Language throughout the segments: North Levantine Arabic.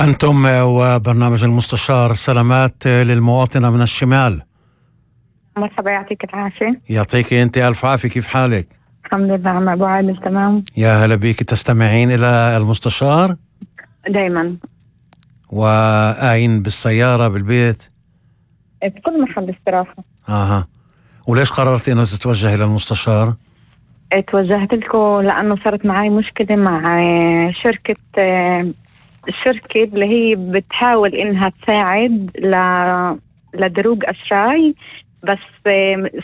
أنتم وبرنامج المستشار، سلامات للمواطنة من الشمال. مرحبا، يعطيك العافية. يعطيك أنت ألف عافية، كيف حالك؟ الحمد لله عم أبو عادل، تمام. يا هلا بيك، تستمعين إلى المستشار؟ دايما. وآين بالسيارة بالبيت؟ بكل محل استراحة. وليش قررت إنه تتوجه إلى المستشار؟ توجهت لكم لأنه صارت معي مشكلة مع شركة اللي هي بتحاول إنها تساعد لدروج أشراي، بس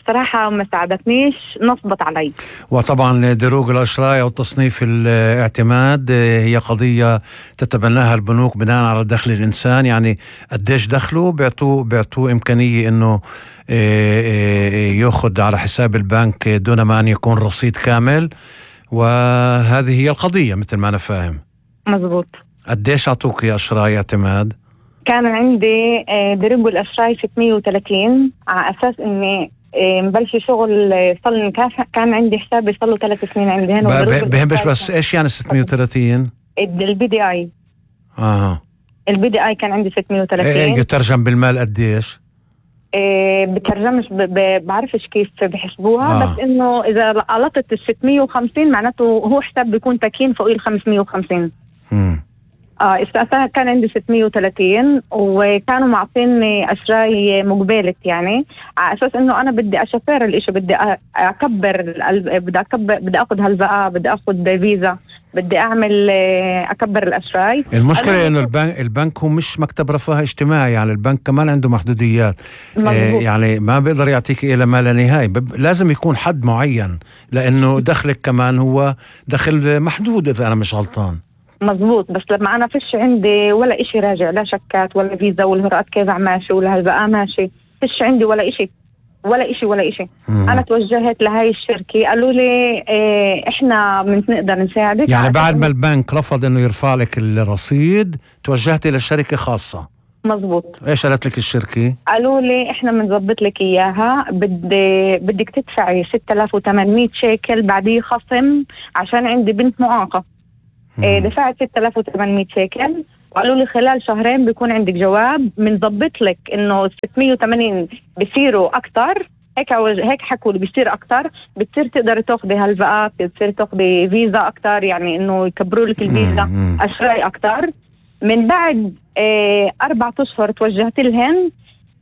صراحة ما ساعدتنيش، نصبت علي. وطبعا دروج الأشراي أو تصنيف الاعتماد هي قضية تتبناها البنوك بناء على دخل الإنسان، يعني قديش دخله بيعطوه إمكانية إنه يأخذ على حساب البنك دون ما أن يكون رصيد كامل، وهذه هي القضية مثل ما أنا فاهم. مزبوط. قديش أعطوك يا أشراي اعتماد؟ كان عندي دروج الأشراي 630 على أساس إني مبلش شغل. صار كان عندي حسابي صار له 3 سنين عندي هنا. بهمش بس إيش يعني 630؟ البي دي آي. البي دي آي كان عندي 630. يترجم بالمال قديش؟ بترجمش بعرفش كيف بحسبوها. بس إنه إذا قلطت 650 معناته هو حساب بيكون تكين فوق 550. استأثرها كان عندي 630 وكانوا معطيني أشراي مقبلة، يعني على أساس إنه أنا بدي أشفر الإشي، بدي أكبر، بدي أخذ هلبقة، بدي أخذ فيزا، بدي أعمل أكبر الأشراي. المشكلة إنه البنك هو مش مكتب رفاه اجتماعي، يعني البنك كمان عنده محدوديات. يعني ما بيقدر يعطيك إلى ما لا نهاية، لازم يكون حد معين، لأنه دخلك كمان هو دخل محدود إذا أنا مش غلطان. مزبوط. بس لما أنا فيش عندي ولا إشي راجع، لا شكات ولا فيزا ولا هرقات كيف ماشي ولا هلبقى ماشي، فيش عندي ولا إشي. أنا توجهت لهاي الشركة، قالوا لي إحنا نقدر نساعدك. يعني بعد ما البنك رفض إنه يرفع لك الرصيد توجهت إلى شركة خاصة. مزبوط. إيش قالت لك الشركة؟ قالوا لي إحنا بنضبط لك إياها، بدك تدفعي 6800 شيكل بعديه خصم عشان عندي بنت معاقة. دفعت 6800 شيكل وقالوا لي خلال شهرين بيكون عندك جواب، بنضبط لك انه 680 بيصيروا اكتر. هيك حكوا لي بيصير اكتر، بتصير تقدر تاخذي هلبقات، بتصير تاخذي فيزا اكتر، يعني انه يكبروا لك الفيزا، اشراي اكتر. من بعد 4 أشهر توجهت لهن،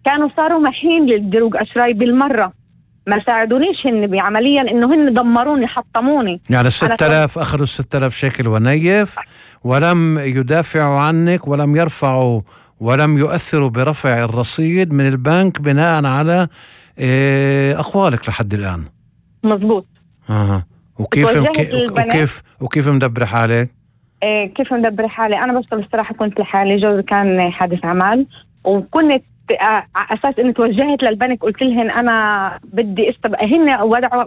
كانوا صاروا محين للدروج اشراي بالمرة، ما ساعدونيش هن بعمليا، انه هن دمروني، حطموني. يعني 6000 اخذوا 6000 شيكل ونيف، ولم يدافعوا عنك ولم يرفعوا ولم يؤثروا برفع الرصيد من البنك بناء على اقوالك لحد الان. مزبوط. وكيف مدبر حالك؟ كيف مدبر حالي؟ انا بشتغل الصراحه، كنت لحالي، جوزي كان حادث عمل، وكنت على اساس اني توجهت للبنك، قلت لهن انا بدي هن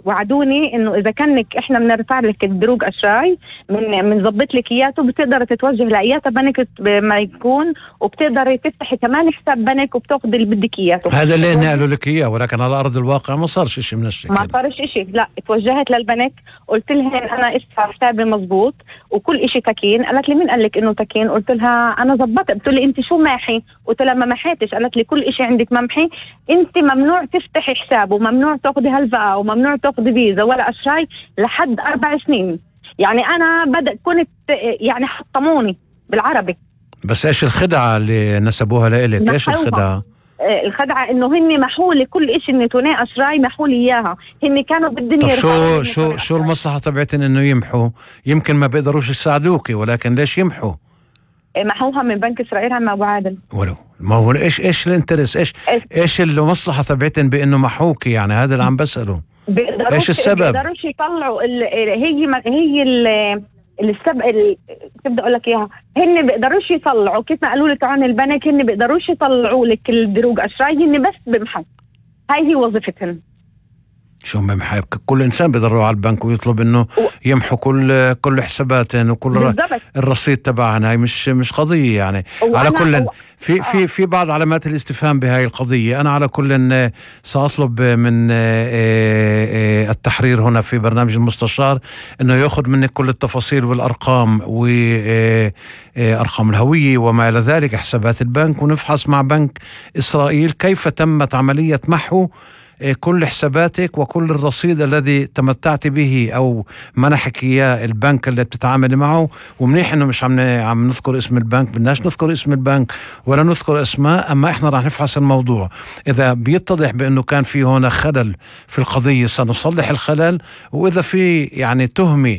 وعدوني انه اذا كانك احنا بنرفع لك الدروج اشراي بنظبط لك اياته، بتقدر تتوجه لايات بنك ما يكون، وبتقدر تفتحي كمان حساب بنك وبتاخذي اللي بدك اياته. هذا اللي قالوا لك اياه، ولكن على ارض الواقع ما صارش شيء من الشيء. ما صارش شيء. لا، توجهت للبنك، قلت لهن انا ادفع حسابي مزبوط وكل شيء تكين. قالت لي مين قال لك انه تكين؟ قلت لها انا ظبطت. قلت لي انت شو ماحي؟ قلت لها ما محيتش. قالت لي كل إشي عندك ممحي، انت ممنوع تفتحي حساب وممنوع تاخذي هلفقة وممنوع تاخذي فيزا ولا أشراي لحد 4 سنين. يعني أنا كنت يعني حطموني بالعربي. بس إيش الخدعة اللي نسبوها لإلك؟ إيش الخدعة؟ الخدعة إنه هن محولي كل إشي، إني توني أشراي محولي إياها. هن كانوا بالدنيا. طب شو المصلحة تبعتن إنه يمحوا؟ يمكن ما بيقدروش يساعدوكي، ولكن ليش يمحوا؟ محوها من بنك إسرائيل عم أبو عادل. ولو ما هو ايش الانترس، ايش المصلحة تبعتن بانه محوكي؟ يعني هذا اللي عم بسأله. ايش السبب؟ بيقدروش يطلعوا هي السبب كيف بدي اقول لك اياها، هن بيقدروش يطلعوا، كيف ما قالوا لك عن البنك، هن بيقدروش يطلعوا لك الدروج اشراي، هن بس بمحو. هاي هي وظيفتهم. شو بمحب كل إنسان بيقدر يروح على البنك ويطلب إنه يمحو كل حساباتن وكل الرصيد تبعنا. هاي مش قضية يعني. على كل في بعض علامات الاستفهام بهاي القضية. أنا على كل سأطلب من التحرير هنا في برنامج المستشار إنه يأخذ منك كل التفاصيل والأرقام وأرقام الهوية وما إلى ذلك، حسابات البنك، ونفحص مع بنك إسرائيل كيف تمت عملية محو كل حساباتك وكل الرصيد الذي تمتعت به أو منحك إياه البنك اللي بتتعامل معه. ومنيح إنه مش عم نذكر اسم البنك، بدناش نذكر اسم البنك ولا نذكر اسماء، أما إحنا راح نفحص الموضوع. إذا بيتضح بأنه كان في هنا خلل في القضية سنصلح الخلل، وإذا في يعني تهمة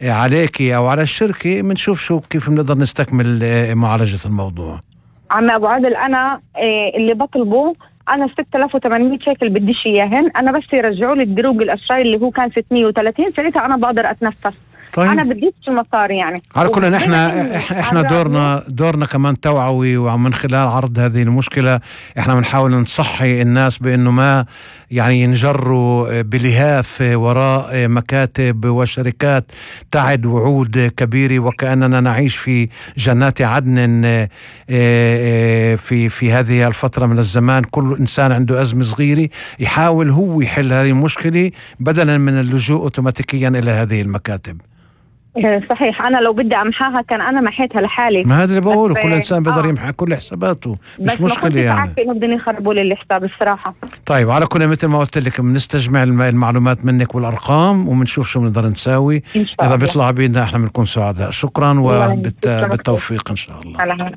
عليكي أو على الشركة بنشوف كيف بنقدر نستكمل معالجة الموضوع. عم أبو عادل، أنا اللي بطلبه أنا 6800 شيكل بديش إياهن، أنا بس يرجعوا لي الدروج الأسرائي اللي هو كان 630، ساعتها أنا بقدر أتنفس. طيب. أنا بديش المصاري يعني. على كل إحنا دورنا كمان توعوي، ومن خلال عرض هذه المشكلة إحنا بنحاول نصحي الناس بأنه ما يعني ينجروا بلهاف وراء مكاتب وشركات تعد وعود كبيرة وكأننا نعيش في جنات عدن في هذه الفترة من الزمان. كل إنسان عنده أزمة صغيرة يحاول هو يحل هذه المشكلة بدلا من اللجوء أوتوماتيكيا إلى هذه المكاتب. صحيح، أنا لو بدي أمحاها كان أنا محيتها لحالي. ما هذا اللي بقوله، كل إنسان بيقدر يمحي كل حساباته، مش مشكلة يعني. بس ما بدهم يخربوا لي الحساب الصراحة. طيب، على كل مثل ما قلت لك بنستجمع المعلومات منك والأرقام وبنشوف شو بنقدر نساوي. إذا بيطلع بينا إحنا بنكون سعداء. شكرا وبالتوفيق إن شاء الله.